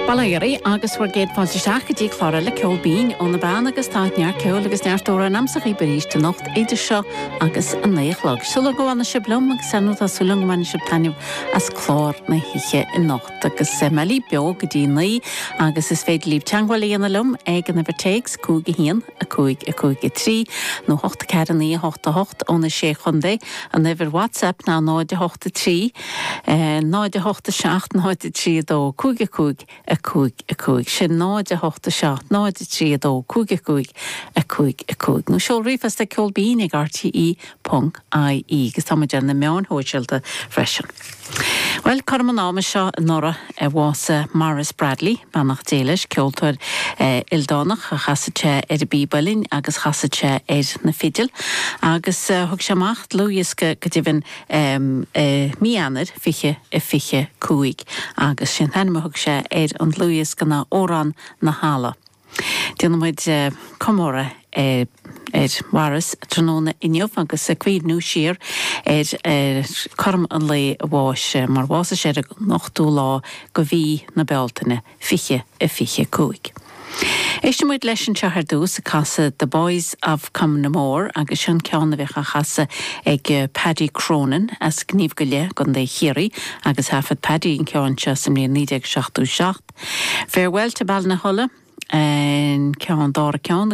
Bail ó Dhia oraibh agus bhur gcéad fáilte isteach go dtí clár eile Ceol Binn ó na Beanna agus tá neart ceoil agus neart amhrán a'msa dhaoibh arís anocht idir seo agus a 9 a chlog. Súil agam go bhfanfaidh sibh liom agus ar ndóigh tá súil agam go mbainfidh sibh taitneamh as clár na hoíche anocht agus mé libh beo go dtí 9 agus is féidir libh teagmháil a dhéanamh liom ag an uimhir téacs 5 1 5 5 3 nó 8 4 9 8 8 ó na Sé Chontae. An uimhir WhatsApp ná 0 8 3 0 8 7 0 3 2 5 5 5 5. Sin 0 8 7 0 3 2 5 5 5 5. Nó seol ríomhphost ag ceolbinn ag rte ponc ie agus tá muid ar na meáin shóisialta freisin. Bhuel, cothrom an ama seo anuraidh a bhásaigh Maurice Bradley, beannacht Dé leis, ceoltóir ildánach, chasadh sé ar an bpíb uilleann agus chasadh sé ar na fidil agus thug sé amach dlúthdhiosca go deimhin i mí Eanáir 2025 agus sé an t-ainm a thug sé ar an dlúthdhiosca ná Órán na hEala. Déanfaidh muid comóradh ar Mhaurice tráthnóna inniu agus ag cuimhniú siar ar cothrom an lae a bháis, mar bhásaigh sé ar an ochtú lá de mhí na Bealtaine, 2025. Éistfidh muid leis anseo ar dtús ag casadh The Boys of Conamore agus seo an ceann a bhíodh á chasadh ag Paddy Cronin as Gníomh go Leith i gContae Chiarraí agus thaifead Paddy an ceann seo sa mbliain 1977. Farewell to Ballinahulla an ceann dara ceann.